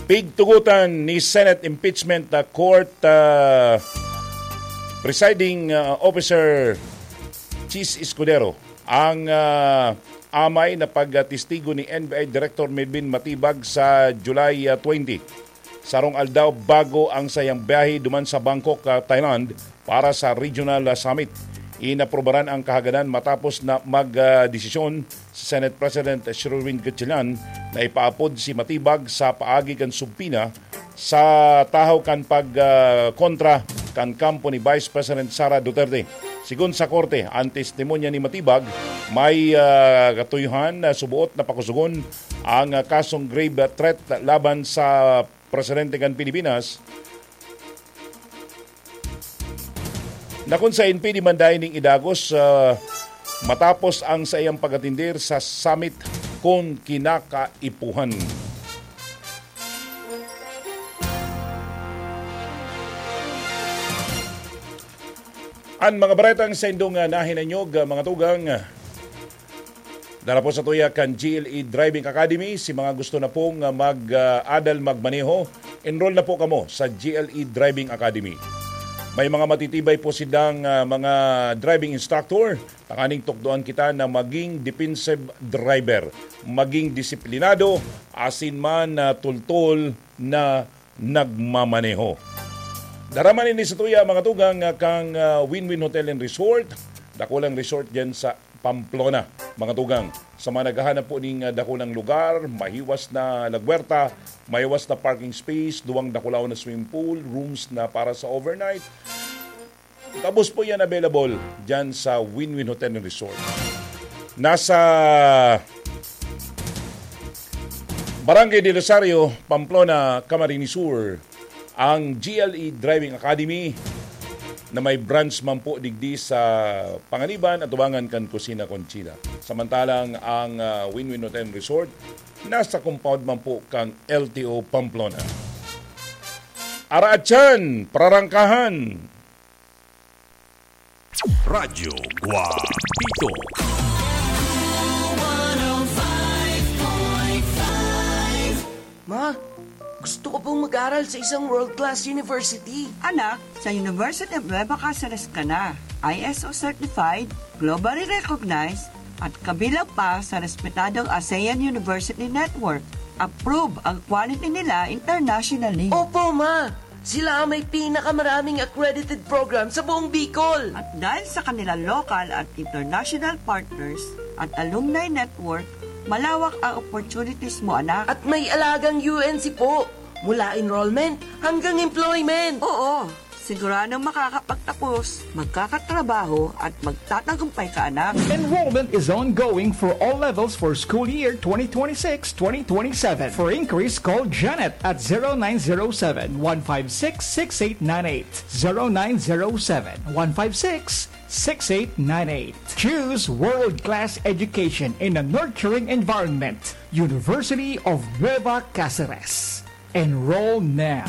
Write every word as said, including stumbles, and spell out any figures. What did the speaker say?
Pigtugutan ni Senate Impeachment, ah, Court, ah, Presiding, ah, Officer Chiz Escudero ang, ah, amay na pagtestigo ni N B I Director Melvin Matibag sa July, ah, twenty, sarong aldaw bago ang sayang biyahe duman sa Bangkok, ah, Thailand, para sa regional, ah, summit. Inaprubaran ang kahagadan matapos na mag, ah, desisyon si Senate President Sherwin Gatchalian na ipaapod si Matibag sa paagi kan subpoena sa tahaw kan pag, ah, kontra kan kampo ni Vice President Sara Duterte. Sigon sa korte, ang testimonya ni Matibag, may, ah, katuyohan na suboot na pakusugon ang, ah, kasong grave threat laban sa presidente kan Pilipinas, na kun saen pwede man dayon ning idagos, ah, matapos ang saiyang pag-atender sa summit kun kinakaipuhan. An mga baretang saindong, ah, nahinanyog, ah, mga tugang, ah, dara po sa tuya kan G L E Driving Academy. Si mga gusto na pong, ah, mag, ah, adal magmaneho, enroll na po kamo sa G L E Driving Academy. May mga matitibay po silang, ah, mga driving instructor, tanganing tukdoan kita na maging defensive driver, maging disiplinado, asin man, ah, tultol na nagmamaneho. Dara man ini sa tuya, mga tugang, ah, kang, ah, Win-Win Hotel and Resort, dakulang resort dyan sa Pamplona, mga tugang. Sa mga naghahanap po ning, ah, dakulang lugar, mahiwas na lagwerta, mahiwas na parking space, duwang dakulaw na swimming pool, rooms na para sa overnight, gabos po yan available dyan sa Win-Win Hotel and Resort. Nasa Barangay del Rosario, Pamplona, Camarines Sur, ang G L E Driving Academy na may branch man po digdi sa Panganiban, atubangan kan Kusina Conchita. Samantalang ang, ah, Win-Win Hotel and Resort nasa compound man po kang L T O Pamplona. Araatyan, prarangkahan. Radyo Guapito. Ma, gusto ko pong mag-aral sa isang world-class university. Anak, sa University of Nueva Caceres ka na. I S O certified, globally recognized, at kabilang pa sa respetadong ASEAN University Network. Approve ang quality nila internationally. Opo, ma! Sila ang may pinakamaraming accredited program sa buong Bicol. At dahil sa kanilang local at international partners at alumni network, malawak ang opportunities mo, anak. At may alagang U N C po, mula enrollment hanggang employment. Oo, siguradong makakapagtapos, magkakatrabaho at magtatagumpay ka, anak. Enrollment is ongoing for all levels for school year twenty twenty-six twenty twenty-seven. For inquiries, call Janet at zero nine zero seven, one five six, six eight nine eight. Zero nine zero seven, one five six, six eight nine eight. Choose world-class education in a nurturing environment. University of Nueva Caceres. Enroll now.